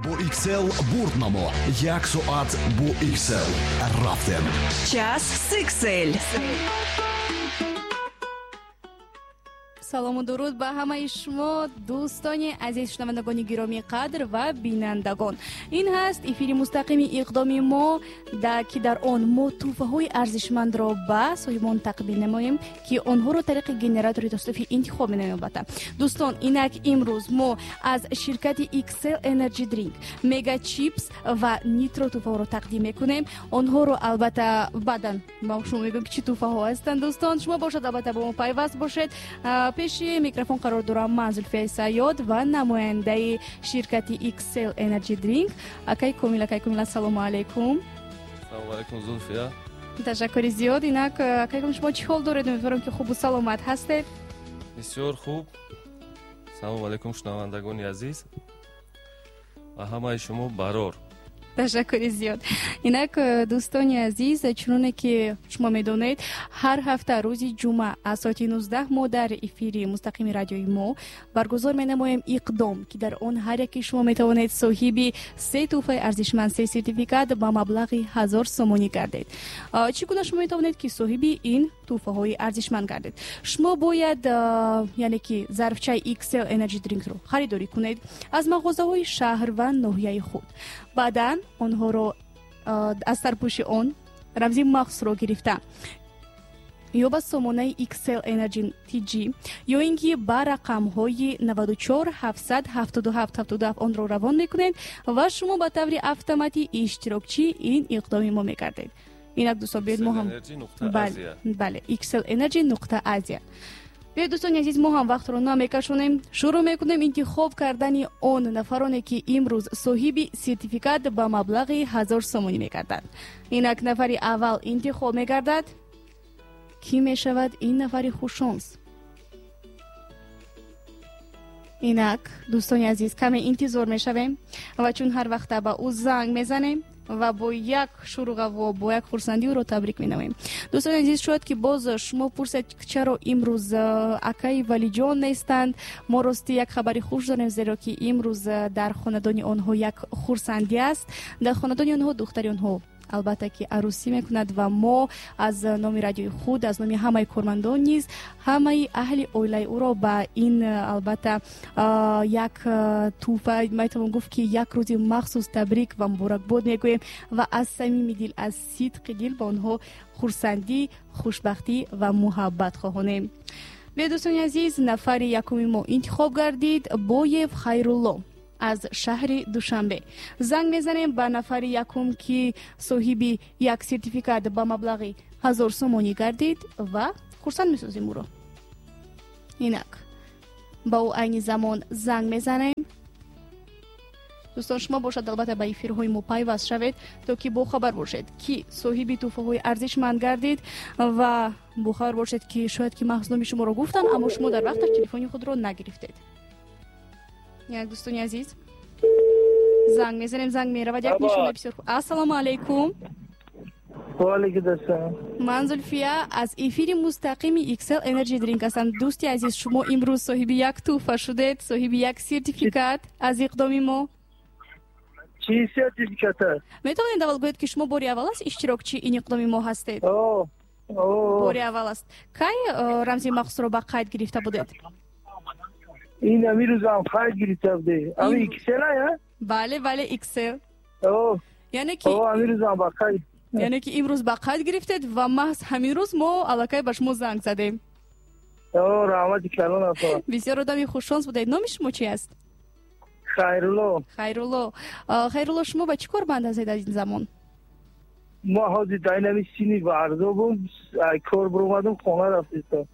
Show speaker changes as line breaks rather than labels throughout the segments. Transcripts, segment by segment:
Бо XL бурд намо. Як соат бо XL. Рафтем.
Час с XL.
Салому дуруд ба ҳамаи шумо, дӯстони азиз, шунавандагони гиромии қадр ва бинандагон. Ин ҳаст эфири мустақими иқдоми мо, ки дар он мо тӯҳфаҳои арзишмандро ба соҳибон тақдим намоем, ки онҳоро тариқи генератори тасодуфӣ интихоб менамоем. Албатта, дӯстон, инак имрӯз мо аз ширкати XL Energy Drink, Mega Chips ва Nitro тӯҳфаҳоро тақдим мекунем. Онҳоро албатта баъдан ба шумо мегӯем, ки чӣ тӯҳфаҳо ҳастанд. Дӯстон, шумо бошад, албатта, бо мо пайваст бошед. Пеши микрофон қарор дорам ман, Зулфияи Сайёд, ва намояндаи ширкати XL Energy Drink, акай Комил. Акай Комил, ассалому алайкум.
Салому алайкум, Зулфия.
Ташаккури зиёд. Инак, акай Комил, шумо чӣ ҳол доред? Умедворам, ки хубу саломат ҳастед.
Бисёр хуб. Салому алайкум, шунавандагони азиз, ва ҳамаи шумо барор.
Ташаккури зиёд. Инак, дӯстони азиз, чуноне ки шумо медонед, ҳар ҳафта рӯзи ҷумъа аз соати 19 мо дар эфири мустақими радиои мо баргузор менамоем иқдом, ки дар он ҳар яке шумо метавонед соҳиби се тӯҳфаи арзишманд, се сертификат ба маблағи 1000 сомонӣ гардед. Чӣ гуна шумо метавонед, ки соҳиби ин тӯҳфаҳои арзишманд гардед? Шумо бояд, яъне ки зарфчаи XL Energy Drinkро харидорӣ кунед аз мағозаҳои шаҳр ва ноҳияи худ. Баъдан онҳоро аз сарпӯши он рамзи махсусро гирифта ё ба сомонаи XL Energy TG, ё ин ки ба рақамҳои 94 777 77 онро равон мекунед ва шумо ба таври автоматӣ иштирокчии ин иқдоми мо мегардед. Инак, дӯстон, биёед мо ҳам, бале, XL Energy нуқта Азия. Биёед, дӯстони азиз, мо ҳам вақтро намекашонем, шурӯъ мекунем интихоб кардани он нафароне, ки имрӯз соҳиби сертификат ба маблағи 1000 сомонӣ мегарданд. Инак, нафари аввал интихоб мегардад. Кӣ мешавад ин нафари хушшонс? Инак, дӯстони азиз, каме интизор мешавем ва чун ҳар вақта ба ӯ занг мезанем ва бо як шурӯғаво, бо як хурсандӣ ӯро табрик менамоем. Дӯстони азиз, шояд ки боз шумо пурсед, чаро имрӯз акаи Валиҷон нестанд. Мо рости як хабари хуш дорем, зеро ки имрӯз дар хонадони онҳо як хурсандӣ аст. Дар хонадони онҳо духтари онҳо, албатта, ки арӯсӣ мекунад ва мо аз номи радиои худ, аз номи ҳамаи кормандон низ ҳамаи аҳли оилаи ӯро ба ин, албатта, як тӯҳфа, метавон гуфт, ки як рӯзи махсус табрик ва муборакбод мегӯем ва аз самими дил, аз сидқи дил ба онҳо хурсандӣ, хушбахтӣ ва муҳаббат хоҳонем. Биё, дӯстони азиз, нафари якуми мо интихоб гардид, Боев Хайрулло аз шаҳри Душанбе. Занг мезанем ба нафари якум, ки соҳиби як сертификат ба маблағи 1000 сомонӣ гардид, ва хурсанд месозем ӯро. Инак, ба ӯ айни замон занг мезанем. Дӯстон, шумо бошад, албатта, ба эфирҳои мо пайваст шавед, то ки бохабар бошед, ки соҳиби тӯҳфаҳои арзишманд гардид, ва бохабар бошед, ки шояд ки маҳз номи шуморо гуфтанд, аммо шумо дар вақташ телефони худро нагирифтед. Як, дӯстони азиз, занг мезанем, занг меравад. Як нишона бисёр хуб. Ассалому алайкум. Ман Зулфия аз эфири мустақими XL Energy Drink ҳастам. Дӯсти азиз, шумо имрӯз соҳиби як тӯҳфа шудед, соҳиби як сертификат аз иқдоми мо.
Чӣ сертификат аст?
Метавонед аввал гӯед, ки шумо бори аввал аст иштирокчии ин иқдоми мо ҳастед? Бори аввал аст. Кай рамзи махсусро ба қайд гирифта будед?
Ин ҳамин рӯзам қайд гирифта буде. Ами XL я?
Бале, бале, XL. Яъне ки
ҳамин рӯзам ба қайд,
яъне ки имрӯз ба қайд гирифтед ва маҳз ҳамин рӯз мо аллакай ба шумо занг задем.
Раҳмати калон апа.
Бисёр одами хушшонс будед. Номи шумо чи аст?
Хайрулло.
Хайрулло, Хайрулло, шумо ба чӣ кор банд ҳастед аз ин замон?
Мо ҳозир дар ин ҳамин сини варзобум, кор биромадум, хона рафтистам.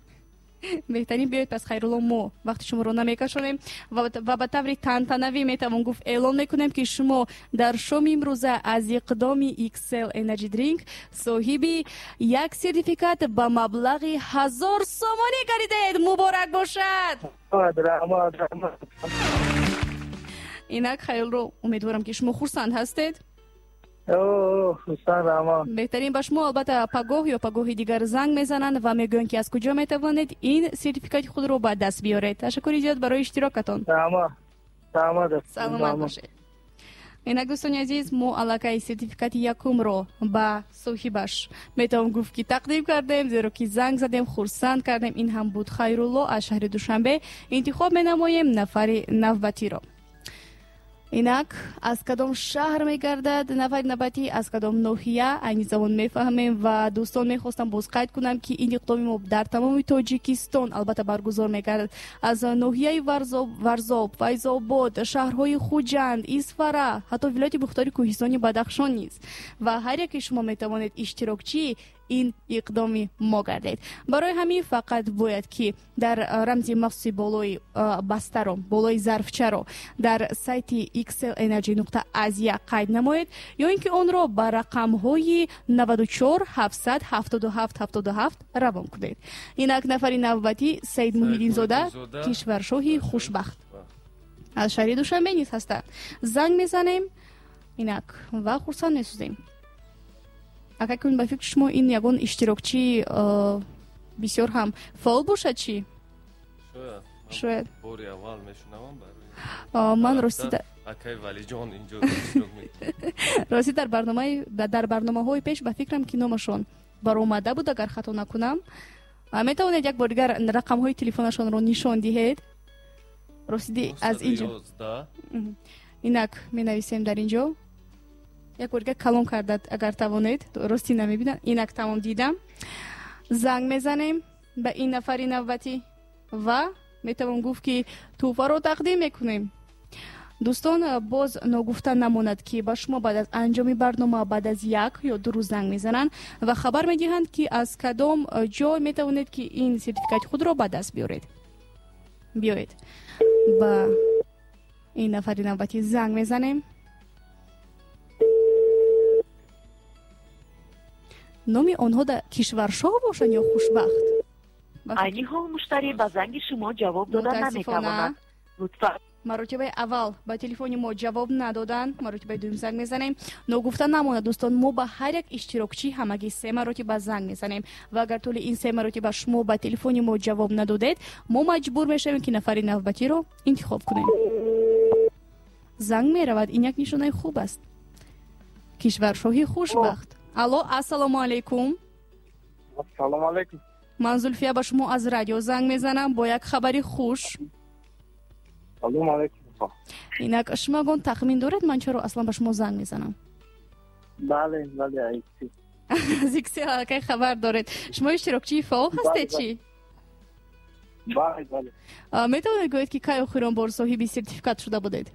Беҳтарин. Биёед пас, Хайрулло, мо вақти шуморо намекашонем ва ба таври тантанавӣ, метавон гуфт, эълон мекунем, ки шумо дар шоми имрӯза аз иқдоми XL Energy Drink соҳиби як сертификат ба маблағи 1000 сомонӣ гардидед. Муборак бошад!
Раҳмат, раҳмат.
Инак, Хайрулло, умедворам, ки шумо хурсанд ҳастед. Беҳтарин. Ба шумо, албатта, пагоҳ ё пагоҳи дигар занг мезананд ва мегӯянд, ки аз куҷо метавонед ин сертификати худро ба даст биёред. Ташаккури зиёд барои иштирокатон. Саломат бошед. Инак, дӯстони азиз, мо аллакай сертификати якумро ба соҳибаш метавон гуфт, ки тақдим кардем, зеро ки занг задем, хурсанд кардем. Ин ҳам буд Хайрулло аз шаҳри Душанбе. Интихоб менамоем нафари навбатиро. Инак, аз кадом шаҳр мегардад нафари навбатӣ, аз кадом ноҳия, айни замон мефаҳмем. Ва дӯстон, мехостам боз қайд кунам, ки ин иқдоми мо дар тамоми Тоҷикистон албатта баргузор мегардад. Аз ноҳияи Варзоб, Файзобод, шаҳрҳои Хуҷанд, Исфара, ҳатто вилояти мухтори Кӯҳистони Бадахшон низ. Ва ҳар яке шумо метавонед иштирокчии ин иқдоми мо гардед. Барои ҳамин фақат бояд, ки дар рамзи махсуси болои бастаро, болои зарфчаро дар сайти XL Energy нуқта Азия қайд намоед ё ин ки онро ба рақамҳои 94 777 77 равон кунед. Инак, нафари навбатӣ Саид Муҳиддинзода, кишваршоҳи хушбахт, аз шаҳри Душанбе низ ҳастанд. Занг мезанем инак ва хурсанд месозем. Ака, кун, ба фикри шумо ин ягон иштирокчии бисёр ҳам фаъол бошад чӣ? Шояд.
Бори аввал мешунавам.
Ман рости
акай Валиҷон инҷо.
Рости, дар барномаҳои пеш ба фикрам, ки номашон баромада буд, агар хато накунам. Метавонед як бор дигар рақамҳои телефонашонро нишон диҳед? Ростиди, аз инҷо инак менависем дар инҷо. Як бор дигар калон кардад, агар тавонед, ростӣ намебинам. Инак, тамом, дидам. Занг мезанем ба ин нафари навбатӣ ва метавон гуфт, ки тӯҳфаро тақдим мекунем. Дӯстон, боз ногуфта намонад, ки ба шумо баъд аз анҷоми барнома, баъд аз 1 ё 2 рӯз занг мезананд ва хабар медиҳанд, ки аз кадом ҷой метавонед, ки ин сертификати худро ба даст биёред. Биёед, ба ин нафари навбатӣ занг мезанем. Номи онҳо да кишваршоҳ бошанд ё хушбахт?
Айни ҳол муштарӣ ба занги шумо ҷавоб дода наметавонад. Лутфан.
Маротибаи аввал ба телефони мо ҷавоб надоданд, маротибаи дуюм занг мезанем. Ногуфта намонад, дӯстон, мо ба ҳар як иштирокчӣ ҳамагӣ се маротиба занг мезанем ва агар тӯли ин се маротиба шумо ба телефони мо ҷавоб надодед, мо маҷбур мешавем, ки нафари навбатиро интихоб кунем. Занг меравад, ин як нишонаи хуб аст. Кишваршоҳи хушбахт, алло, ассалому алайкум.
Ассалому алайкум.
Ман Зулфия, ба шумо аз радио занг мезанам бо як хабари хуш.
Салому алайкум.
Инак, шумо ягон тахмин доред, ман чаро аслан ба шумо занг мезанам?
Бале.
Аз XL аллакай хабар доред. Шумо иштирокчии фаъол ҳастед чӣ?
Бале.
Метавонед гӯед, ки кай охирон бор соҳиби сертификат шуда будед?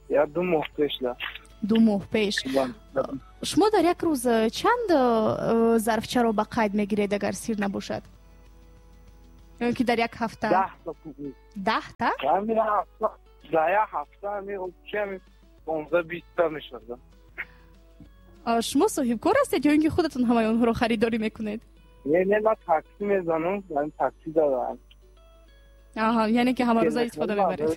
Я 2 моҳ пеш да.
2 моҳ пеш. Шумо дар як рӯз чанд зарфчаро ба қайд мегиред, агар сир набошад, ё ки дар як ҳафта? 10 та?
Дар як ҳафта 15-20 та мешавад.
Шумо соҳибкор ҳастед ё ин ки худатон ҳамаи онҳоро харидорӣ мекунед?
Не, ман такси мезанам, такси дорам.
Аҳа, яъне ки ҳамарӯза истифода мебаред.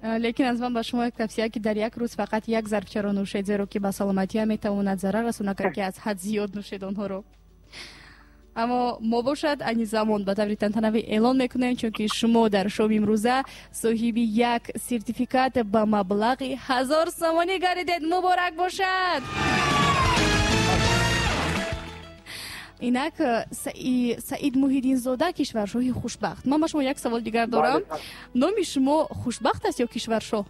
Лекин аз ман ба шумо як тавсия, ки дар як рӯз фақат як зарфчаро нӯшед, зеро ки ба саломатия метавонад зарар расонад, агар ки аз ҳад зиёд нӯшед онҳоро. Аммо мо бошад, айни замон ба таври тантанавӣ эълон мекунем, чунки шумо дар шоми имрӯза соҳиби як сертификат ба маблағи 1000 сомонӣ гардидед. Муборак бошад! Инак, Саид Муҳиддинзода, кишваршоҳи хушбахт, ман ба шумо як савол дигар дорам. Номи шумо хушбахт аст ё кишваршоҳ?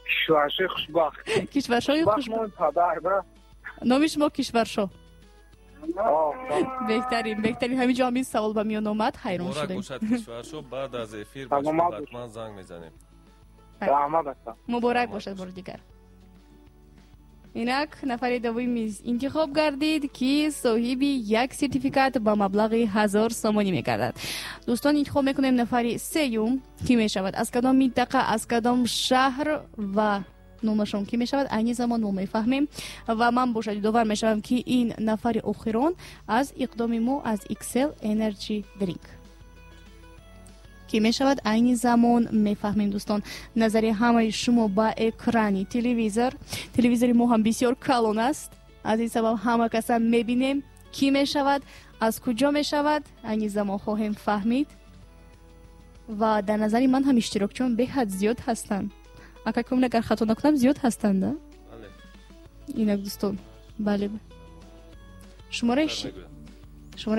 Кишваршоҳи хушбахт.
Кишваршоҳи
хушбахт.
Номи шумо кишваршоҳ. Беҳтарин, беҳтарин. Ҳамин ҷо ҳамин савол ба миён омад, ҳайрон шудем.
Бошад, кишваршоҳ, баъд аз эфир ба шумо ҳатман занг мезанем.
Муборак бошад бори дигар. Инак, нафари дуввум интихоб гардид, ки соҳиби як сертификат ба маблағи 1000 сомонӣ мегардад. Дӯстон, интихоб мекунем нафари сеюм, кӣ мешавад, аз кадом минтақа, аз кадом шаҳр ва номашон кӣ мешавад, айни замон мо мефаҳмем. Ва ман бошад, ёдовар мешавам, ки ин нафари охирон аз иқдоми мо аз XL Energy Drink кӣ мешавад, айни замон мефаҳмем. Дӯстон, назари ҳамаи шумо ба экрани телевизор. Телевизори мо ҳам бисёр калон аст, аз ин сабаб ҳама каса мебинем. Кӣ мешавад, аз куҷо мешавад, айни замон хоҳем фаҳмид. Ва дар назари ман ҳам иштирокчиён беҳад зиёд ҳастанд. Ака Комил, агар хато накунам, зиёд ҳастанд, да?
Бале.
Инак дӯстон, бале. Шумораи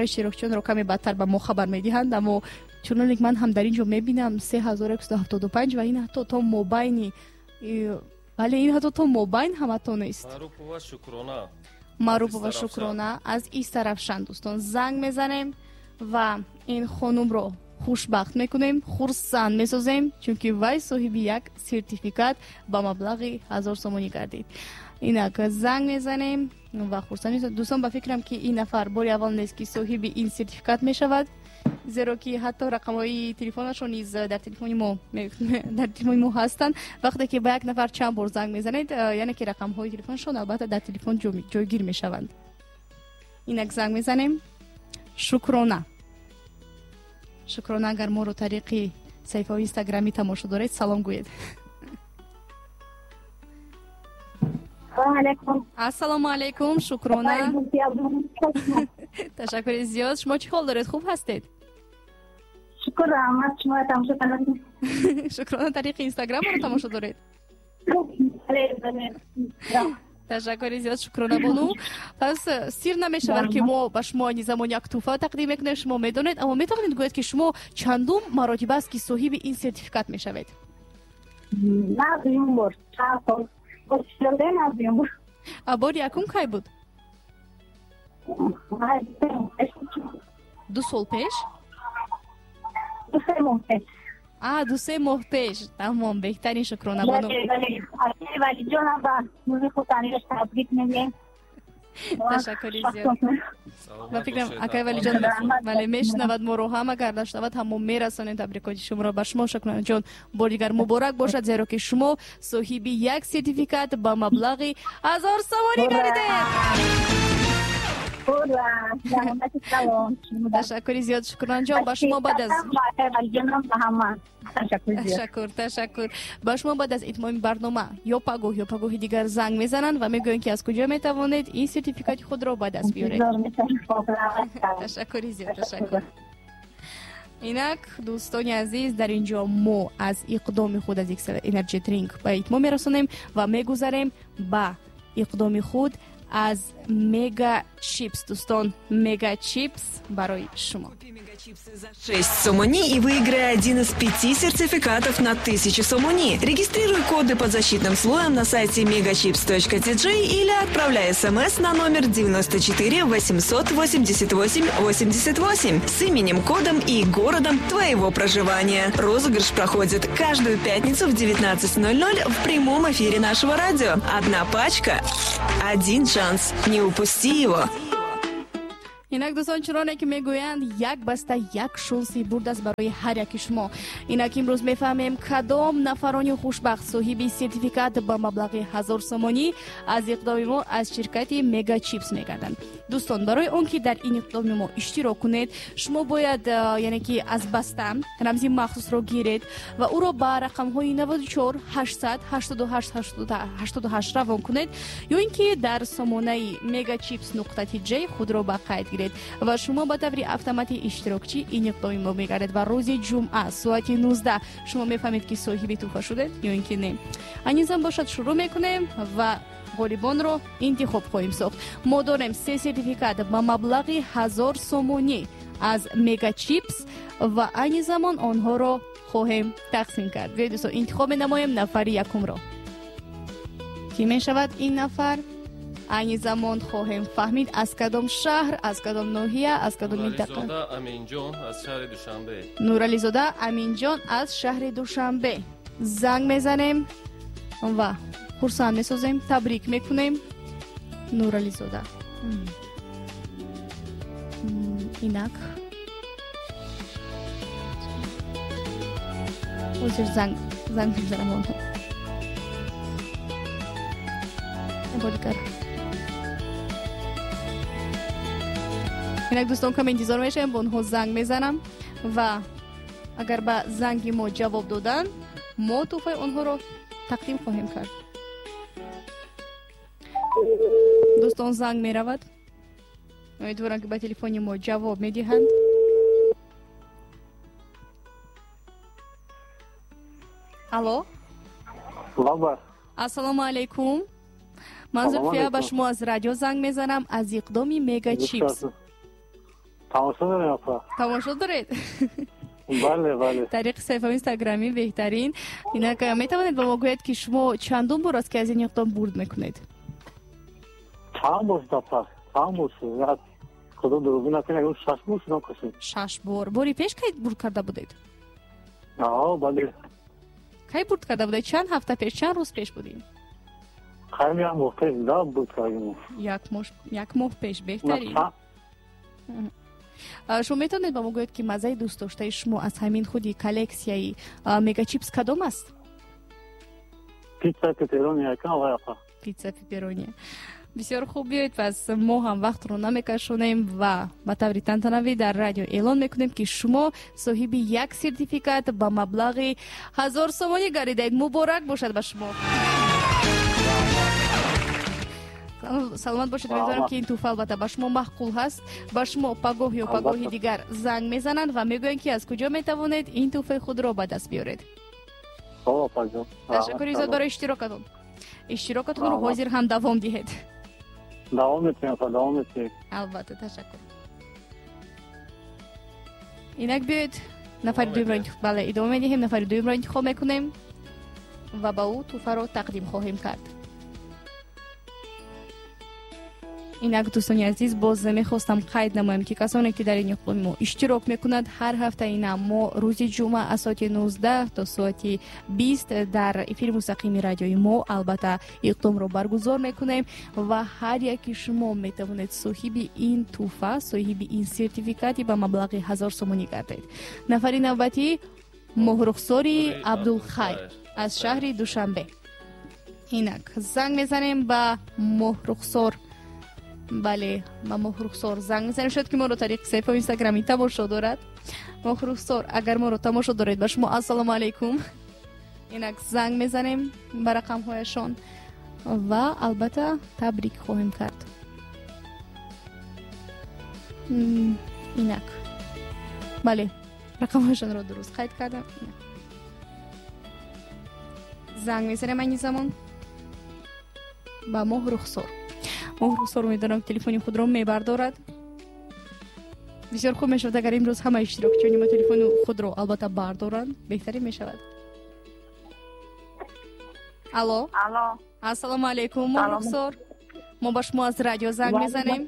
иштирокчиёнро каме баъдтар ба мо хабар медиҳанд, аммо чуноне ки ман ҳам дар ин ҷо мебинам 3175 ва ин ҳатто то мобайни, бале, ин ҳатто то мобайн ҳам ҳатто нест.
Маъруфова Шукрона.
Маъруфова Шукрона аз Истаравшан, дӯстон, занг мезанем ва ин хонумро хушбахт мекунем, хурсанд месозем, чунки вай соҳиби як сертификат ба маблағи 1000 сомонӣ гардид. Инак занг мезанем ва хурсанд месозем. Дӯстон, ба фикрам ки ин нафар бори аввал нест ки соҳиби ин сертификат мешавад, зеро ки ҳатто рақамҳои телефонашон низ дар телефони мо ҳастанд. Вақте ки ба як нафар чанд бор занг мезанед, яъне ки рақамҳои телефонашон албатта дар телефон ҷойгир мешаванд. Инак занг мезанем. Шукрона. Шукрона, агар моро тариқи саҳифаҳои инстаграмӣ тамошо доред, салом гӯед. Ассалому алайкум, Шукрона. Ташаккури зиёд. Шумо чӣ ҳол доред? Хуб ҳастед?
Шукр, раҳмат. Шумо тамошо кардед?
Шукрона, тариқи инстаграм моро тамошо доред? Ташаккури зиёд, Шукрона бону. Пас сир намешавад ки мо ба шумо айни замон як тӯҳфа тақдим мекунем, шумо медонед, аммо метавонед гӯед ки шумо чандум маротиба аст ки соҳиби ин сертификат мешавед?
На, дуюм бор. Чанд сол.
Бори якум кай буд? 2 сол пеш?
2-3 моҳ пеш.
2-3 моҳ пеш. Тамом, беҳтарин, Шукрона бону.
Валиҷонам ба рӯзи хурсандиаш табрик мегӯем.
Ташаккури зиёд. Ба фикрам акай Валиҷон бале мешунавад моро ҳам, агар нашунавад ҳам мо мерасонем табрикоти шуморо ба шумо. Шукронаҷон, бори дигар муборак бошад, зеро ки шумо соҳиби як сертификат ба маблағи 1000 сомонӣ гардидед. Ташаккури зиёд, Шукронаҷон. Ба шумо баъд аз ташаккур, ташаккур. Ба шумо баъд аз итмоми барнома ё пагоҳ ё пагоҳи дигар занг мезананд ва мегӯянд ки аз куҷо метавонед ин сертификати худро ба даст биёред. Ташаккури зиёд, ташаккур. Инак дӯстони азиз, дар ин ҷо мо аз иқдоми худ аз XL Energy Drink ба итмом мерасонем ва мегузарем ба иқдоми худ аз Мега Чипс. Дӯстон, Мега Чипс барои шумо.
Купи Мега Чипсы за 6 сомони и выиграй один из 5 сертификатов на 1000 сомони. Регистрируй коды под защитным слоем на сайте megachips.tj или отправляй смс на номер 94 888 88 с именем, кодом и городом твоего проживания. Розыгрыш проходит каждую пятницу в 19:00 в прямом эфире нашего радио. Одна пачка, один шанс. Не упусти его.
Инак дӯстон, чуноне ки мегӯянд, як баста як шонси бурд аст барои ҳар яки шумо. Инак имрӯз мефаҳмем кадом нафарони хушбахт соҳиби сертификат ба маблағи 1000 сомонӣ аз иқдоми мо аз ширкати Мега Чипс мегарданд. Дӯстон, барои он ки дар ин иқдоми мо иштирок кунед, шумо бояд яъне ки аз баста рамзи махсусро гиред ва ӯро ба рақамҳои 94 800 88 88 равон кунед ё ин ки дар сомонаи megachips.tj худро ба қайд гиред ва шумо ба таври автоматӣ иштирокчи ин иқдоми мо мегардед ва рӯзи ҷумъа соати 19 шумо мефаҳмед ки соҳиби тӯҳфа шудед ё ин ки не. Айни зам бошад, шурӯъ мекунем ва ғолибонро интихоб хоҳем сохт. Мо дорем 3 сертификат ба маблағи 1000 сомонӣ аз Мега Чипс ва айни замон онҳоро хоҳем тақсим кард. Биёед дӯстон, интихоб менамоем нафари якумро. Кӣ мешавад ин нафар? Айни замон хоҳем фаҳмид аз кадом шаҳр, аз кадом ноҳия, аз кадом минтақа.
Нурализода Аминҷон аз шаҳри Душанбе.
Нурализода Аминҷон аз шаҳри Душанбе. Занг мезанем ва хурсанд месозем, табрик мекунем. Нурализода. Инак ҳозир занг мезанам онҳо. Бодигар. Инак дӯстон, каме интизор мешавем, бо онҳо занг мезанам ва агар ба занги мо ҷавоб доданд, мо тӯҳфаи онҳоро тақдим хоҳем кард. Дӯстон, занг меравад. Умедворам ки ба телефони мо ҷавоб медиҳанд. Алло.
Лаба.
Ассалому алайкум. Ман Зулфия ба шумо аз радио занг мезанам, аз иқдоми Мега Чипс.
Тамошо дорем, апа.
Тамошо доред?
Бале, бале.
Тариқи саҳифаи инстаграмӣ беҳтарин. Инак метавонед ба мо гӯед, ки шумо чандум бор аст, ки аз ин иқдом бурд мекунед?
Чанд бор шуд, апа? Чанд бор шуд? Худо дурӯғ накунад, 6 бор шудам қасам.
6 бор. Бори пеш кай бурд карда будед?
Аа, бале.
Кай бурд карда будед? Чанд ҳафта пеш, чанд рӯз пеш будем?
Хайм як моҳ пеш да бурд кардем.
Як моҳ пеш, беҳтарин. Шумо метавонед ба мо гӯед, ки маззаи дӯстдоштаи шумо аз ҳамин худи коллексияи Мегачипс кадом аст?
Пицца пеперони якам вай, апа.
Пицца пеперони. Бисёр хуб, биёед пас мо ҳам вақтро намекашонем ва ба таври тантанавӣ дар радио эълон мекунем, ки шумо соҳиби як сертификат ба маблағи 1000 сомонӣ гардидаед. Муборак бошад ба шумо. Саломат бошед. Умедворам, ки ин тӯҳфа албатта ба шумо маъқул ҳаст. Ба шумо пагоҳ ё пагоҳи дигар занг мезананд ва мегӯянд, ки аз куҷо метавонед ин тӯҳфаи худро ба даст биёред. Ташаккури зиёд барои иштирокатон. Иштирокатонро ҳозир ҳам давом диҳед.
Давом метиҳем, давом метиҳем.
Албатта, ташаккур. Инак биёед нафари дуюмро, бале, идома медиҳем. Нафари дуюмро интихоб мекунем ва ба ӯ тӯҳфаро тақдим хоҳем кард. Инак дӯстони азиз, боз мехостам қайд намоям, ки касоне, ки дар ин иқдоми мо иштирок мекунанд, ҳар ҳафта ина мо рӯзи ҷумъа аз соати 19 то соати 20 дар эфири мустақими радиои мо албатта иқдомро баргузор мекунем ва ҳар яки шумо метавонед соҳиби ин тӯҳфа, соҳиби ин сертификати ба маблағи 1000 сомонӣ гардед. Нафари навбатӣ Моҳрухсори Абдулхайр аз шаҳри Душанбе. Инак занг мезанем ба Моҳрухсор. Бале, ба Моҳрухсор занг мезанем. Шояд ки моро тариқи саҳифаи инстаграмӣ тамошо дорад. Моҳрухсор, агар моро тамошо доред, ба шумо ассалому алайкум. Инак занг мезанем ба рақамҳояшон ва албатта табрик хоҳем кард. Инак бале, рақамҳояшонро дуруст қайд кардам. Занг мезанем айни замон ба Моҳрухсор. Моҳрухсор умедворам, телефони худро мебардорад. Бисёр хуб мешавад, агар имрӯз ҳама иштирокчиёни мо телефони худро албатта бардоранд, беҳтарин мешавад. Алло.
Алло.
Ассалому алайкум, Моҳрухсор. Мо ба шумо аз радио занг мезанем.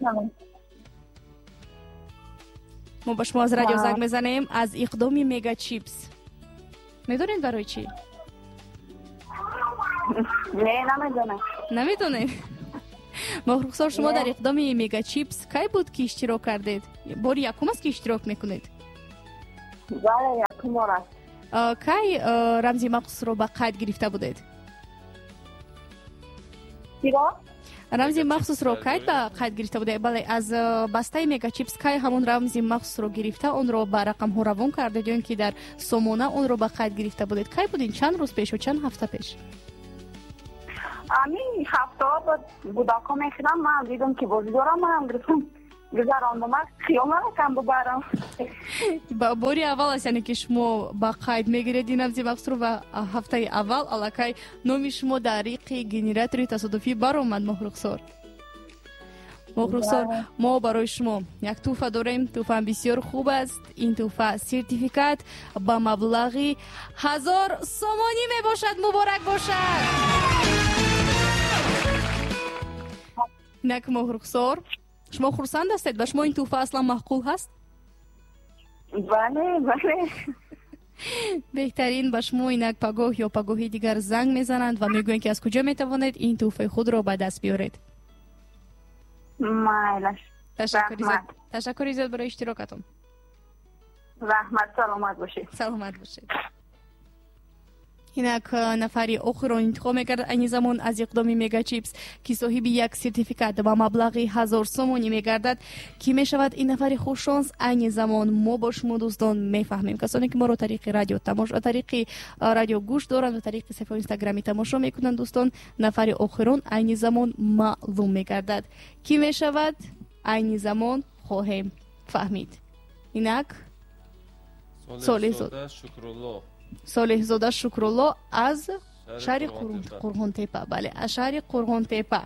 Мо ба шумо аз радио занг мезанем аз иқдоми Мега Чипс. Медонед барои чӣ?
Не, намедонам.
Намедонед? Моҳрухсор, шумо дар иқдоми Мега Чипс кай буд, ки иштирок кардед? Бори якум аст, ки иштирок мекунед?
Бале, якум бор аст.
Кай рамзи махсусро ба қайд гирифта будед?
Чиро?
Рамзи махсусро кай ба қайд гирифта будед? Бале, аз бастаи Мега Чипс кай ҳамон рамзи махсусро гирифта, онро ба рақамҳо равон кардед ё ин ки дар сомона онро ба қайд гирифта будед? Кай будин? Чанд рӯз пеш ё чанд ҳафта пеш?
Ами ҳафтаҳо буд, гудако мехӯрам, ман дидам, ки бозӣ дорам, манам гирифтам, гузарондам, хиёл намекам бубарам.
Бори аввал аст, яъне ки шумо ба қайд мегиред ин рамзи махсусро ва ҳафтаи аввал аллакай номи шумо дар риқи генератори тасодуфӣ баромад. Моҳрухсор, Моҳрухсор, мо барои шумо як тӯҳфа дорем. Тӯҳфаам бисёр хуб аст. Ин тӯҳфа сертификат ба маблағи 1000 сомонӣ мебошад. Муборак бошад. Инак Моҳрухсор, шумо хурсанд ҳастед? Ба шумо ин тӯҳфа аслан маъқул ҳаст?
Бале, бале.
Беҳтарин. Ба шумо инак пагоҳ ё пагоҳи дигар занг мезананд ва мегӯянд, ки аз куҷо метавонед ин тӯҳфаи худро ба даст биёред.
Майлаш.
Ташаккури зиёд барои иштирокатон.
Раҳмат, саломат бошед.
Саломат бошед. Инак нафари охирон интихоб мекард айни замон аз иқдоми Мега Чипс, ки соҳиби як сертификат ба маблағи 1000 сомонӣ мегардад. Кӣ мешавад ин нафари хушшонс? Айни замон мо бо шумо дӯстон мефаҳмем. Касоне, ки моро тариқи радио тамошо, тариқи радио гӯш доранд ва тариқи саҳифаи инстаграмӣ тамошо мекунанд, дӯстон, нафари охирон айни замон маълум мегардад. Кӣ мешавад? Айни замон хоҳем фаҳмид. Инак Солеҳзода
Шукрулло.
Солеҳзода Шукрулло аз шаҳри Қурғонтепа. Бале, аз шаҳри Қурғонтепа.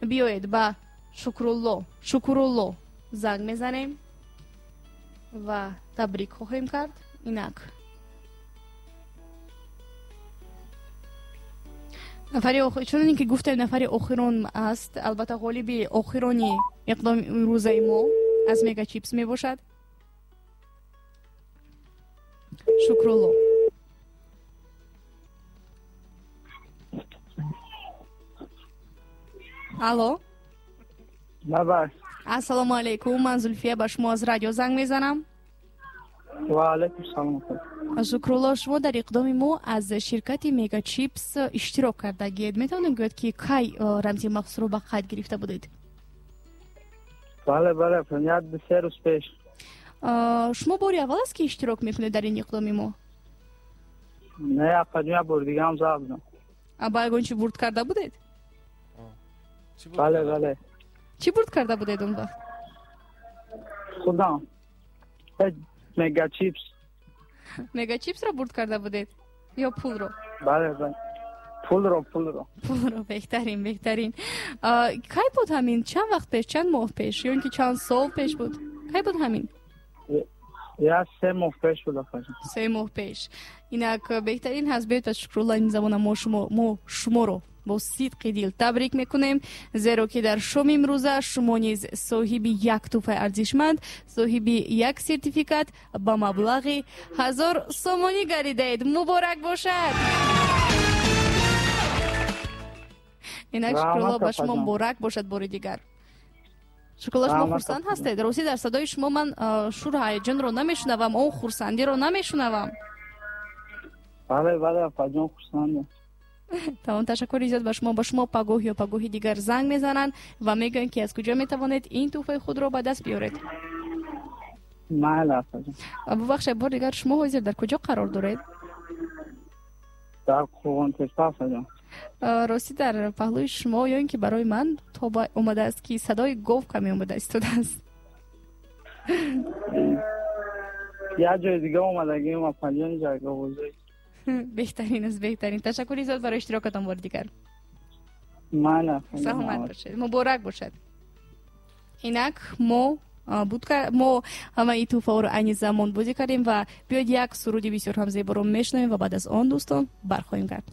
Биёед ба Шукрулло занг мезанем ва табрик хоҳем кард. Инак чунон ки гуфтем, нафари охирон аст. Албатта ғолиби охирони иқдоми имрӯзаи мо аз Мегачипс мебошад. Шукрулло. Алло.
Баба.
Ассалому алайкум, ман Зулфия ба шумо аз радио занг мезанам.
Ва алайкум салом.
Шукрулло, шумо дар иқдоми мо аз ширкати Мегачипс иштирок кардагиед. Метавонем гӯяд ки кай рамзи махсусро ба қайд гирифта будед?
Бале, бале, 1-3 рӯз пеш.
Шумо бори аввал аст ки иштирок мекунед дар ин иқдоми мо?
Не, апаҷон, бори дига ҳам зад будам.
Ба ягон чӣ бурд карда будед?
Бале, бале.
Чӣ бурд карда будед он вақт?
Худам. Мегачипс.
Мегачипсро бурд карда будед ё пулро?
Бале, бале. Пулро.
Пулро, беҳтарин, беҳтарин. Кай буд ҳамин? Чанд вақт пеш, чанд моҳ пеш ё ин ки чанд сол пеш буд? Кай буд ҳамин?
Я 3 моҳ пеш буд, апаҷон.
3 моҳ пеш. Инак беҳтарин ҳаст. Биёед пас Шукрулло, ин замона мо шуморо бо сидқи дил табрик мекунем, зеро ки дар шоми имрӯза шумо низ соҳиби як тӯҳфаи арзишманд, соҳиби як сертификат ба маблағи 1000 сомонӣ гардидаед. Муборак бошад! Инак Шукрулло, ба шумо муборак бошад бори дигар. Шукрулло, шумо хурсанд ҳастед? Ростӣ дар садои шумо ман шуру ҳаяҷонро намешунавам, он хурсандиро намешунавам.
Бале, бале, апаҷон, хурсандам.
Тамом, ташаккури зиёд ба шумо. Ба шумо пагоҳ ё пагоҳи дигар занг мезананд ва мегӯянд ки аз куҷо метавонед ин тӯҳфаи худро ба даст биёред.
Майла, апаҷон.
Бубахшед, бор дигар шумо ҳозир дар куҷо қарор доред?
Дар Қурғонтепа, апаҷон.
Ростӣ дар паҳлӯи шумо ё ин ки барои ман то омадааст ки садои гов каме омада истодааст.
Як ҷои дига омадагим, апаҷон, ҷайговозӣ.
Беҳтарин аст, беҳтарин. Ташаккури зиёд барои иштирокатон бори дигар.
Майла,
саломат бошед, муборак бошад. Инак мо ҳамаи тӯҳфаҳоро айни замон бозӣ кардем ва биёед як суруди бисёр ҳам зеборо мешунавем ва баъд аз он дӯстон бархоҳем кард.